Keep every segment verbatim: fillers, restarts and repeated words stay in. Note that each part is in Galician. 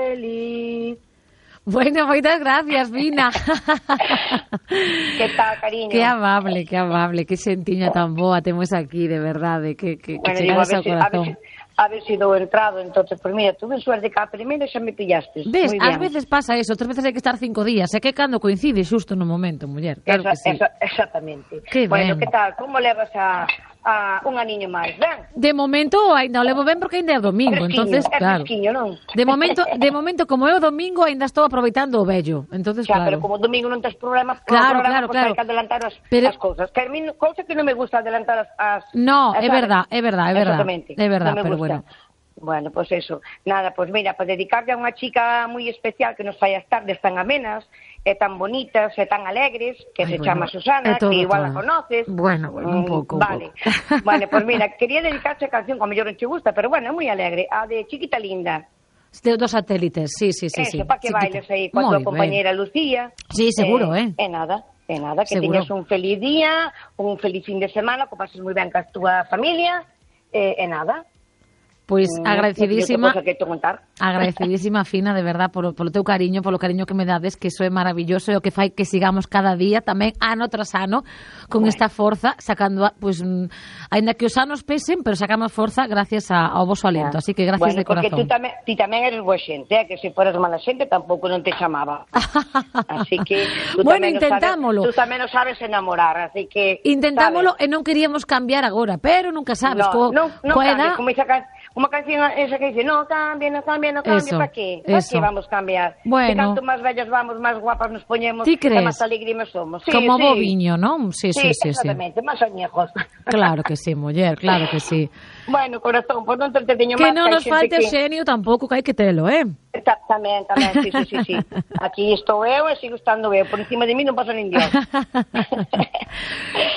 feliz. Bueno, moitas gracias, Fina. Que tal, cariño? Que amable, que amable, que xentiña tan boa temos aquí, de verdade, que, que, bueno, que chegaras ao si, corazón. A ver si dou entrado, entonces, pues mira, tuve suerte que a primeira xa me pillaste. Ves, ás veces pasa eso, outras veces hai que estar cinco días, é que cando coincide xusto no momento, muller, claro esa, que sí. Esa, exactamente. Que bueno, ben. que tal, como levas a, a un aniño máis, ben? De momento, ainda o levo ben porque ainda é o domingo, fresquiño, entonces, é claro. fresquiño, non? De momento, de momento, como é o domingo, ainda estou aproveitando o vello, entonces, xa, claro. pero como o domingo non tes problemas, claro, programa, claro, pues claro. hai que adelantar as, pero... as cousas. Que a mí, cousa que non me gusta adelantar as... as no, as, é verdad, é verdad, é verdad. Exactamente. É verdad, no pero gusta. bueno. Bueno, pues eso. Nada, pues mira, para dedicarle a unha chica moi especial que nos fai as tardes tan amenas, e tan bonitas, e tan alegres, que Ay, se bueno, chama Susana, todo, que igual todo. la conoces. Bueno, bueno, un pouco. Mm, vale. Un pouco. Bueno, pues mira, quería dedicarse a canción, como mellor non te gusta, pero bueno, é moi alegre, a de Chiquita Linda. De dos satélites, sí, sí, sí. Eso, sí. para que Chiquita. bailes aí con Muy tu compañera bien. Lucía. Sí, seguro, eh. E eh, nada, e eh, nada, que seguro. teñas un feliz día, un feliz fin de semana, que pases moi ben ca túa familia, e eh, eh, nada. Pois pues, agradecidísima, no que agradecidísima, Fina, de verdad, polo, polo teu cariño, polo cariño que me dades, que iso é maravilloso, e o que fai que sigamos cada día, tamén ano tras ano, con bueno. esta forza, sacando, pois, pues, ainda que os anos pesen, pero sacamos forza gracias a, ao voso aliento, así que gracias bueno, de corazón. Porque tú tamén, ti tamén eres boa xente, eh? Que se foras mala xente tampouco non te chamaba. Así que tú bueno, tamén intentámolo. Sabes, tú tamén nos sabes enamorar, así que... Intentámolo sabes? E non queríamos cambiar agora, pero nunca sabes, no, co, no, no coa cambies, edad... como esa can... Uma canción esa que dice, no cambia, no cambia, no cambia, ¿para qué? ¿Para qué vamos a cambiar? Bueno. Que canto máis vellas vamos, máis guapas nos poñemos, e máis alegrimes somos. Sí, como sí. boviño, non? Sí, sí, sí, sí. Exactamente, máis añejos. Claro que sí, muller, claro que sí. Bueno, corazón, pois non te entreteño máis. Que non nos falte que... xenio tampouco, que hai que telo, eh? Tamén, tamén, sí, sí, sí, sí. Aquí estou eu e sigo estando eu. Por encima de mí non pasa nin Dios.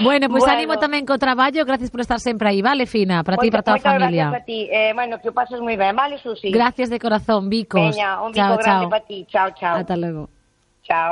Bueno, pois pues bueno. Animo tamén co traballo. Gracias por estar sempre aí, vale, Fina? Para ti e para toda a familia. Gracias a ti. Eh, bueno, que o pases moi ben, vale, Susi? Gracias de corazón, bicos. Veña, un bico chao, grande chao. para ti. Chao, chao. Ata logo. Chao.